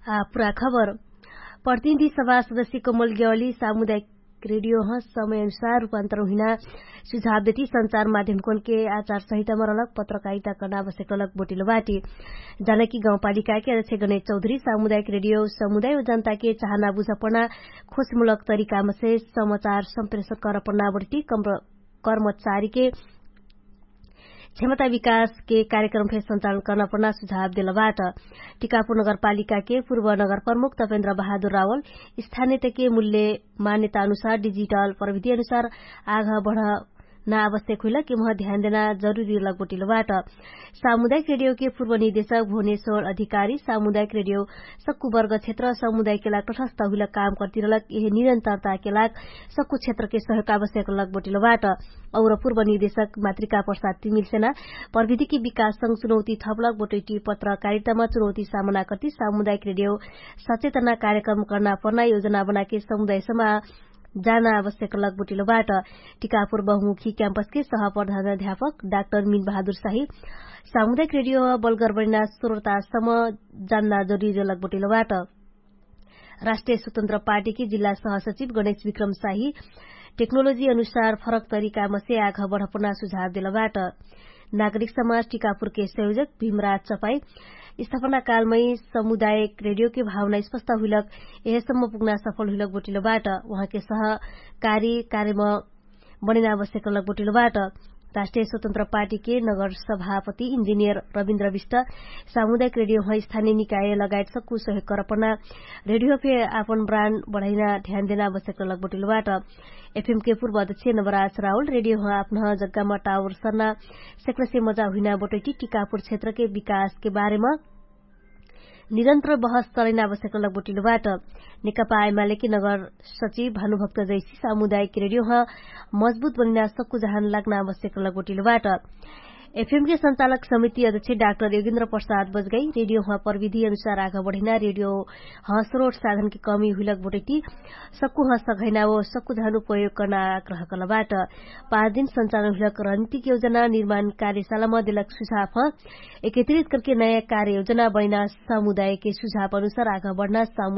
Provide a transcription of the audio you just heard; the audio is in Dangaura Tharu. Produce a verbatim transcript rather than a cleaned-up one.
आ पुरा खबर। प्रतिनिधि सभा सदस्य कमल गेवाली सामुदायिक रेडियो ह समय अनुसार रूपान्तर हुइना सुझाव देती संचार माध्यम कोनके आचार संहितामा रहलक पत्रकारिता कर्ना आवश्यक रहलक बोटिलो बाटी। जानकी गाउँपालिकाके अध्यक्ष गणेश चौधरी सामुदायिक रेडियो समुदाय व जनताके चाहना बुझपना खोजमूलक तरिकामा से समाचार सम्प्रेषण करपना बोटटी कर्मचारीके क्षमता विकासके कार्यक्रम फे सञ्चालन कर्ना पर्ना सुझाव देलबाट। टिकापुर नगरपालिकाके पूर्व नगरप्रमुख तपेन्द्र बहादुर रावल स्थानियतके मूल्य मान्यता अनुसार डिजिटल प्रविधि अनुसार आघ बढना आवश्यक हुइलक एमह ध्यान देना जरुरी रहलक बोटिलोबाट। सामुदायिक रेडियोके पूर्व निर्देशक भुवनेश्वर अधिकारी सामुदायिक रेडियो सक्कु वर्ग क्षेत्र समुदायके लाग तटस्थ हुइलक काम कर्तिरलक एहे निरन्तरताके लाग सक्कु क्षेत्रके सहयोग आवश्यक रहलक बोटिलोबाट। और पूर्व निर्देशक मातृका प्रसाद तिमिलसेना प्रविधिकी विकाससँग चुनौती थपलक बोटैटी पत्रकारितामा चुनौती सामना कर्ति सामुदायिक रेडियो सचेतना कार्यक्रम कर्ना पर्ना योजना बनाके समुदायसमा जाना आवश्यक रहलक बोटिलोबाट। टिकापुर बहुमुखी क्याम्पसके सहप्रधान अध्यापक डाक्टर मिन बहादुर साही सामुदायिक रेडियो बलगर बनिना स्रोतासम जान्ना जरुरी रहलक बोटिलोबाट। राष्ट्रिय स्वतन्त्र पार्टीकी जिल्ला सहसचिव गणेश विक्रम साही टेक्नोलोजी अनुसार फरक तरिकामसे आघ बढपुना सुझाव देलबाट। नागरिक समाज टिकापुरके संयोजक भीमराज चपाई स्थापनाकालमै समुदायक रेडियोके भावना स्पष्ट हुइलक एहेसम्म पुग्ना सफल हुइलक बोटिलोबाट। उहाँके सहकारी कार्यम बनेना आवश्यक रहलक बोटिलोबाट। राष्ट्रिय स्वतन्त्र पार्टीके नगर सभापति इन्जिनियर रविन्द्र विष्ट सामुदायिक रेडियो ह स्थानिय निकाय लगायत सक्कु सहयोग करपना रेडियो फे आपन ब्रान्ड बढैना ध्यान देना आवश्यक रहलक बोटिलोबाट। एफएमके पूर्व अध्यक्ष नवराज राहुल रेडियो ह आपन जग्गामा टावर सर्ना सेक्नसे मजा हुइना बोटैटी टिकापुर क्षेत्रके विकासके बारेमा निरन्तर बहस चलैना आवश्यक रहलक बोटिलोबाट। नेकपा आइमालेके नगर सचिव भानुभक्त जैसी सामुदायिक रेडियो ह मजबुत बनिना सक्कु जहान लाग्ना आवश्यक रहलक बोटिलोबाट। एफएमके सञ्चालक समिति अध्यक्ष डाक्टर योगेन्द्र प्रसाद बजगाई रेडियो ह प्रविधि अनुसार आघ बढैना रेडियो ह स्रोट साधनके कमी हुइलक बोटैटी सक्कु ह सघैना ओ सक्कु जहान उपयोग कर्ना आग्रह कर्लबाट। पाँच दिन सञ्चालन हुइलक रणनीतिक योजना निर्माण कार्यशालामा देलक सुझाव ह एकत्रित करके नयाँ कार्ययोजना बनिना समुदायके सुझाव अनुसार आघ बढना